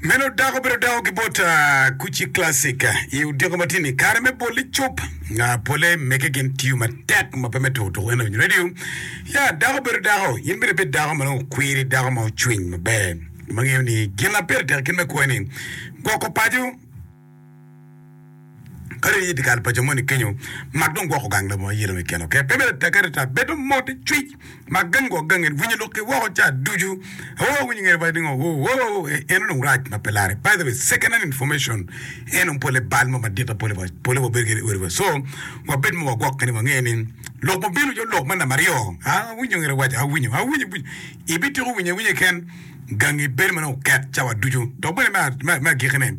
Meno dako obedo dako ki bot Kuci Classic i odiko matini kare me bol icup pole mege gin tiyo matek ma pe me tuko tuko en awinyo radio ya dako obedo dako in bene ibed dako ma nongo okwiri dako ma ocwiny maber ma ngeyo ni gin ma pire tek kit me kwo ni gwoko paco Kadi in i dyekal pa jo moni kenyo, mak dong gwoko gang labongo ayela keken, ok? Pe myero atekke atata, bed dong mot icwic, mak gang gwok gangi, winyo lok ki woko ca ducu. Oh, winyo ngene waco ningo, oh, oh, oh, eno dong rac ma pe lare. By the way, second hand information, en dong pole bal mo madit ma pole pole wabedo kede i odi wa. So, wabed ma wagwokke ni wange ni lok ma bino calo lok me namba aryo, awinyo ngene waco, awinyo, awinyo, awinyo. Ibitiko winyo awinya keken, gangi bedo ma dong oket cawa ducu. Dok bene me, me agikkine,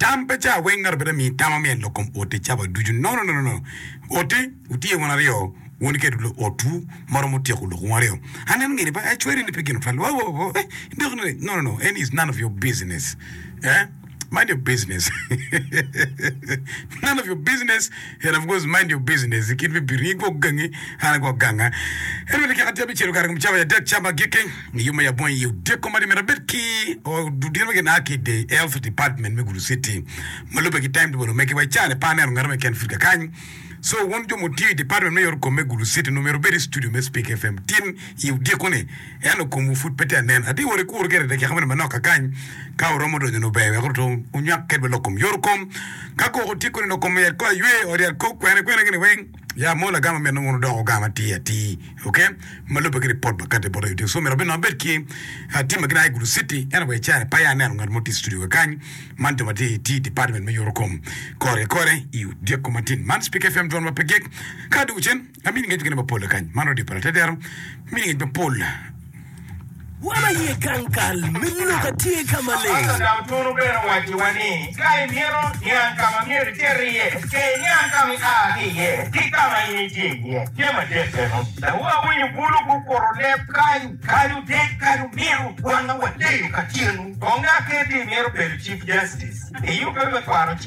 Tam pe ca weng ngato bene mii tam amyel lok kom oti cawa ducu no no no no oti wutye wun aryo wun kede otwu ma romo tyeko lok wun aryo aneno ngeni pa acweri ni pe gin otwal wa wa wa eh dok ni no no no en is none of your business eh mind your business none of your business and of course mind your business kit me bino in gwok gangi an agwok ganga en bene kika tye abicelo kare kom cawa ya dek cama agikki I yo me abonyo i odiko ma myero abed ki ludito ma gin a ki i the health department me Gulu City ma lubbe ki timetable omegi wa i caa-ni pe aneno ngat mo keken pud kakany so wun jo mutiyo i department me yot kom me Gulu City onongo myero wubed i studio me Speak FM tin i odiko ni ento komwu pud pe tye anen atye wot ikuru gire dakika moni manok kakany ka wuromo donyo nongo ber wek wunywak kedwa lok kom yot kom ka koko tye koni lok kom yat kor aywe ot yat kor kwene kwene gini weng Ya mo lagam ma mito wun wudok wugam atir atir, ok? Ma lubbe ki ripot ma kati bot aye. So myero abed abed ki team ma gin a i Gulu City, ento wa i caa-ni pe aye aneno ngat mo tye i studio kakany. Man jo ma tye i tye i department me yuto kom kore ki kore i odyeko matin. Man Speak FM dwon ma pe gik. Ka adwogo cen, amini ngec mukene mapol kakany. Man radio pa Latedero, mini ngec mapol. Wan aye gang kal me lok atye ka maleng. Ento Dautunu bene owacciwa ni, Ka imito niang ka ma myero icit iye, ce iniang ka ma ia ki iye ki ka ma in itye iye. Jami adek meno. Dong awinyo bulu gukuto leb kany, kany odek, kany omito, wanga waleyo kacelu. Kong aketi imito bedo Chief Justice, iyubbe me kwano.